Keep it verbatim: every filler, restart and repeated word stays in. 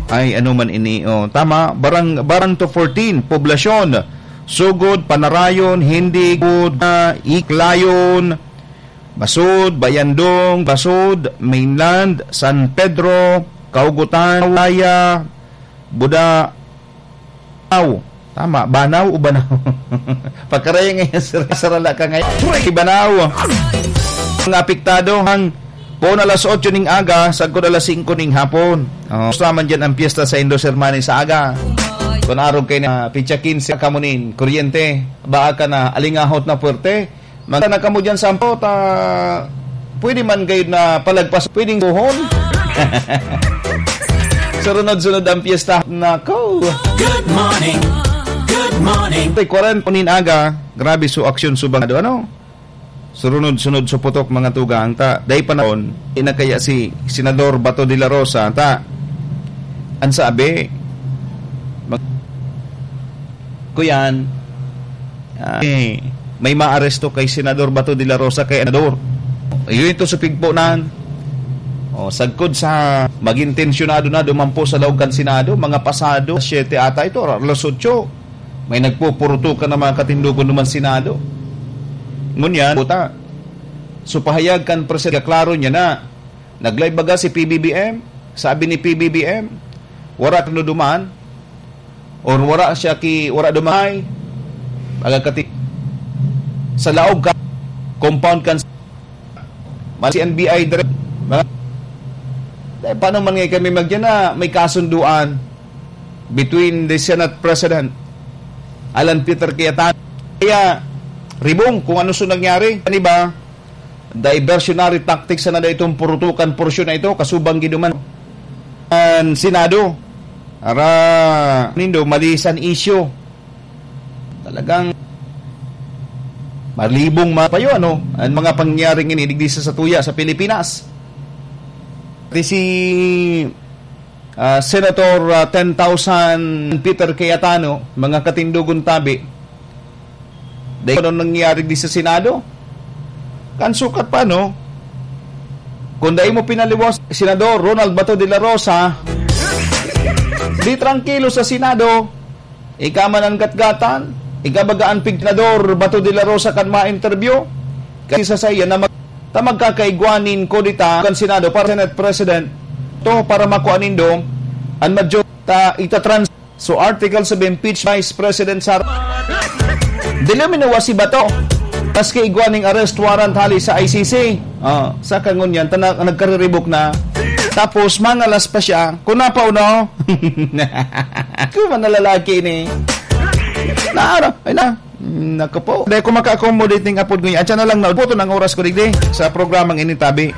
Ay, ano man ini, oh. Tama, barang, barang to fourteen, poblasyon. Sugod, Panarayon, Hindi, Gud, ah, Iklayon, Basud, Bayandong, Basud, Mainland, San Pedro, Kaugutan, Laya, Buda, Aw. Tama, Banaw o Banaw? Pagkaraya ngayon, sir, sarala ka ngayon. Banaw. Mga apektado, hang poon alas otso ning aga, sagkod alas singko ning hapon. Oh, gusto naman dyan ang piyesta sa Indos Hermanis sa aga. Kung arog kayo na, pitsa quince, kamunin, kuryente, baa ka na, alingahot na puwerte, magana kamo dyan sa ampo, ta, pwede man gayud na palagpas, pwedeng buhon. Surunod-sunod ang piyesta. Nako. Good morning. Good morning. Tay, kwarenta nin aga, grabe so aksyon subang, ano? Surunod-sunod so putok, mga tugang, ta, day panahon, ina kaya si Senador Bato de la Rosa, ta, ang sabi, mag-, kuyan, ah, eh, may maaresto kay Senador Bato de la Rosa kay Senador. Yun ito sa pigponan. O, sagkod sa maging tensyonado na dumampo sa laog kan Senado, mga pasado, siyete ata ito, alas otso. May nagpupurutukan ng mga katindugon naman Senado. Ngunyan, puta. So, pahayag kan presidente, klaro niya na. Nag-live baga si P B B M? Sabi ni P B B M, wala ka duman? Or wala siya ki, wala dumay? Baga kati-, sa laog ka, compound kan mal-, si N B I direct. Mga, eh, paano man nga kami magyan na may kasunduan between the Senate President, Alan Peter Cayetano? Kaya, ribong kung ano so nangyari. Ano ba? Diversionary tactics na daw itong purutukan porsyon na ito, kasubang giduman ang Senado. Ara, nindo, malisan isyu. Talagang malibong mga payo, ano, ang mga pangyayaring ini, digdi sa satuya sa Pilipinas. Pati si, ah, Senator, ah, ten thousand Peter Cayetano, mga katindugon tabi, dahil ano nangyayari di sa Senado? Kan sukat pa, no? Kung dai mo pinaliwas, Senador Ronald Bato de la Rosa, di trangkilo sa Senado. Ika man ang gatgatan, ika baga an pig-, Senador Bato de la Rosa kan ma-interview. Kasi sa saya na mag-, ta magkakaigwa nin kudeta kan Senado para Senate President. To, para makuha nindo, an major-, ta, itatrans-, so, Article seven, impeach Vice President Sara. Dili minuwa si Bato. Maski igwa ning arrest warrant hali sa I C C. Ah, sa kangunyan, ta na-, nagkariribok na. Tapos, mangalas pa siya. Kung napauno. Kung man na lalaki ni. Na, ano? Ay na. Naku po. Dahil kung maka-accommodate ning apod ko niya, at siya na lang na, buto ng oras ko digdi sa programang ini, tabi.